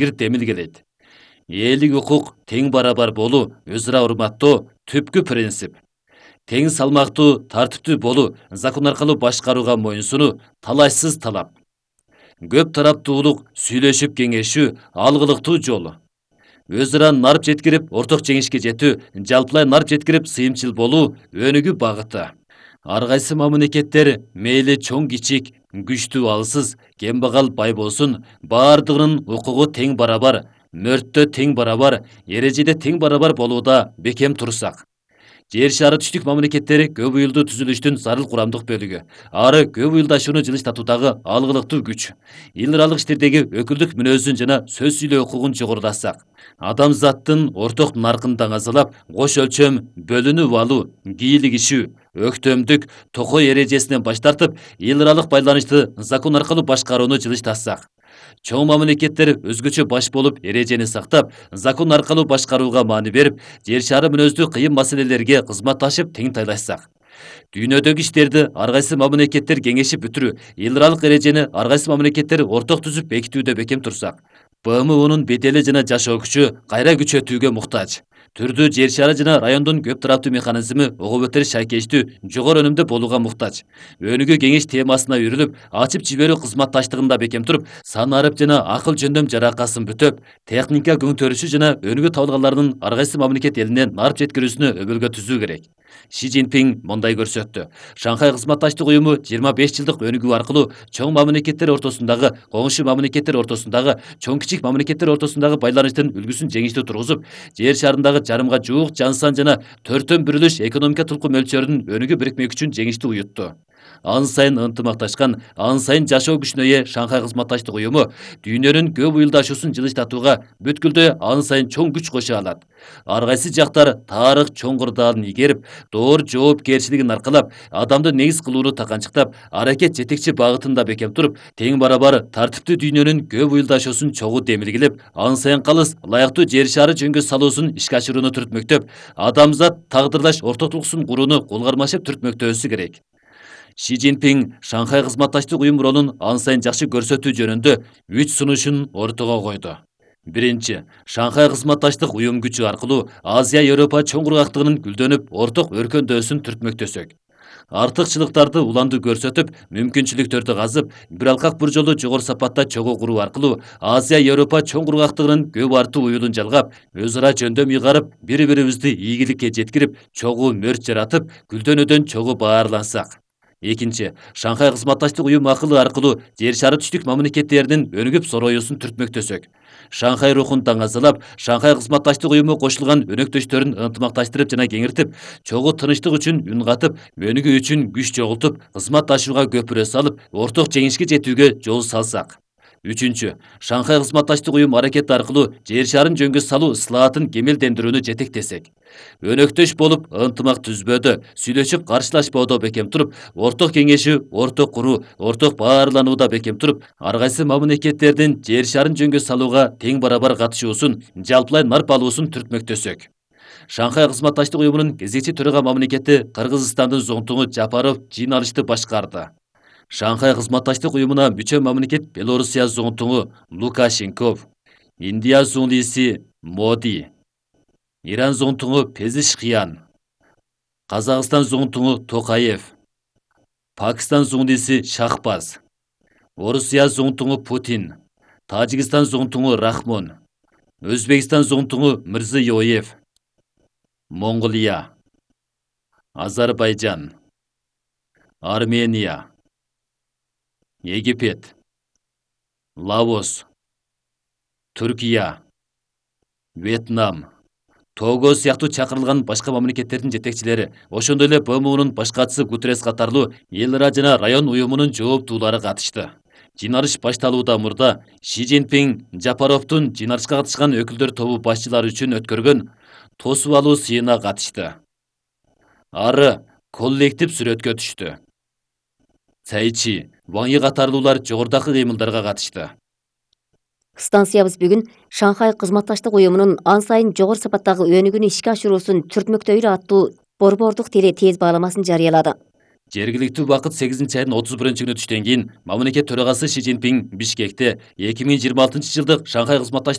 бир демилгелейт. Элдик укук тең барабар болуу, өз ара урматтоо түпкү принцип. Тең салмактуу, тартиптүү болуу, закон аркылуу башкарууга моюнсунуу талашсыз талап. Көп тараптуулук, сүйлөшүп кеңешүү алгылыктуу жол. Өз ара нарп жеткирип, орток жеңишке жетүү, жалпылай нарп жеткирип, сыйымчыл болуу өнүгүү багыты. Ар кайсы мамлекеттер мейли чоң кичик, күчтүү алсыз, кембагал бай болсун, баардыгынын укугу тең барабар, мөрттө тең барабар, эрежеде тең барабар болууда бекем турсак. Жер шары түштүк мамлекеттери көп уюлдуу түзүлүштүн зарыл курамдык бөлүгү. Ары көп уюлдашууну жылыштатуудагы алгылыктуу күч. Эл аралык иштердеги өкүлдүк мүнөзүн жана сөз сүйлөө укугун жогорулатсак, адамзаттын орток наркын даңазалап, кош өлчөм бөлүнүп алуу, кийлигишүү, өктөмдүк, токой эрежесинен баш тартып, эл аралык байланышты закон аркылуу башкарууну жылыштатсак, чоң мамлекеттер өзгөчө баш болуп эрежени сактап, закон аркылуу башкарууга маани берип, жер шары мүнөздүү кыйын маселелерге кызматташып тең тайлашсак, дүйнөдөгү иштерди ар кайсы мамлекеттер кеңешип бүтүрүү, эл аралык эрежени ар кайсы мамлекеттер орток түзүп бекитүүдө бекем турсак, БМУнун бедели жана жашоо күчү кайра күчөтүүгө муктаж. Түрдүү жер шары жана райондун көп тараптуу механизми ого бетер шайкештүү, жогору өнүмдүү болууга муктаж. Өнүгүү кеңеш темасына үйрүлүп, ачып жиберүү кызматташтыгында бекем туруп, сан арып жана акыл жөндөм жаракасын бүтөп, техника көңтөрүшү жана өнүгүү табылганларынын ар кайсы мамлекет элине нарп жеткирүүсүнө өбөлгө түзүү керек. Ши Цзиньпин мындай көрсөттү. Шанхай кызматташтык уюму 25 жылдык өнүгүү аркылуу чоң мамлекеттер ортосундагы, коңшу мамлекеттер ортосундагы, чоң кичик мамлекеттер ортосундагы байланыштын үлгүсүн жеңиштүү тургузуп, жер шарындагы жарымга жуук жансан жана төрттөн бүрүлүш экономика тулку мөлчөрүнүн өнүгүү бирикмек үчүн жеңиштүү уютту. Ан сайын ынтымакташкан, ан сайын жашоо күчүнө ээ Шанхай кызматташтык уюму дүйнөнүн көп уюлдашуусун жылыштатууга бүткүлдө ан сайын чоң күч кошо алат. Ар кайсы жактар тарых чоң кырдаалын ийгерип, доор жоопкерчилигин аркалап, адамды негиз кылууну таканчыктап, аракет жетекчи багытында бекем туруп, тең барабар тартиптүү дүйнөнүн көп уюлдашуусун чогуу демилгелеп, ан сайын калыс ылайыктуу жер шары жөнгө салуусун ишке ашырууну түртмөктөп, адамзат тагдырдаш ортоктугусун курууну кол кармашып түртмөктөөсү керек. Ши Цзиньпин Шанхай кызматташтык уюм ролун ан сайын жакшы көрсөтүү жөнүндө 3 сунушун ортого койду. Биринчи, Шанхай кызматташтык уюм күчү аркылуу Азия Европа чоң кургактыгынын гүлдөнүп, орток өркөндөөсүн түртмөктөсөк. Артыкчылыктарды уланды көрсөтүп, мүмкүнчүлүктөрдү казып, бир алкак бир жолу жогору сапатта чогуу куруу аркылуу Азия Европа чоң кургактыгынын көп артуу уюлун жалгап, өз ара жөндөм ыйгарып, бири-бирибизди ийгиликке жеткирип, чогуу мөрт жаратып, гүлдөнүүдөн чогуу баарлансак. Экинчи, Шанхай кызматташтык уюм акылы аркылуу жер шары түштүк мамлекеттеринин өнүгүп сороюусун түртмөктөсөк. Шанхай рухун таңазалап, Шанхай кызматташтык уюму кошулган өнөктөштөрүн ынтымакташтырып жана кеңиртип, чогуу тынычтык үчүн үн катып, өнүгүү үчүн күч чогултуп, кызматташууга көпүрө салып, орток жеңишке жетүүгө жол салсак. Үчүнчү, Шанхай кызматташтык уюм аракети аркылуу жер шарын жөнгө салуу ыслаатын кемелдендирүүнү жетектесек. Өнөктөш болуп, ынтымак түзбөдө, сүйлөшүп каршылашпоодо бекем туруп, орток кеңешүү, орток куруу, орток баарланууда бекем туруп, ар кайсы мамлекеттердин жер шарын жөнгө салууга тең барабар катышуусун, жалпылай нарп алуусун түртмөктөсөк. Шанхай кызматташтык уюмунун кезекчи төрага мамлекети Кыргызстандын зоңтуңу Жапаров жыйналышты башкарды. Шанхай кызматташтык уюмуна мүчө мамлекет Белоруссия зоңтуңу Лукашенков, Индия зуңлиси Моди, Иран зоңтуңу Пезишкиян, Казакстан зоңтуңу Токаев, Пакистан зуңлиси Шахбаз, Орусия зоңтуңу Путин, Тажикстан зоңтуңу Рахмон, Өзбекстан зоңтуңу Мирзиёев, Монголия, Азербайжан, Армения, Египет, Лаос, Түркия, Вьетнам, Того сыяктуу чакырылган башка мамлекеттердин жетекчилери, ошондой эле БМУнун башкачысы Гутеррес катарлуу эл ара жана район уюмунун жооптуулары катышты. Жыйналыш башталуудан мурда Ши Цзиньпин Жапаровдун жыйналышка катышкан өкүлдөр тобу башчылары үчүн өткөргөн тосуп алуу сыйына катышты. Ары коллектив сүрөткө түштү. Цайчи, Ван Йи катарлуулар жогорудагы кыймылдарга катышты. Станциябыз бүгүн Шанхай кызматташтык уюмунун ан сайын жогору сапаттагы өнүгүүнү ишке ашыруусун түртмөктөйлү аттуу борбордук теле тез бааламасын жарыялады. Жергиликтүү убакыт 8 айдын 31-күнү түштөн кийин мамлекет төрагасы Си Цзиньпин Бишкекте 2026 жылдык Шанхай кызматташтык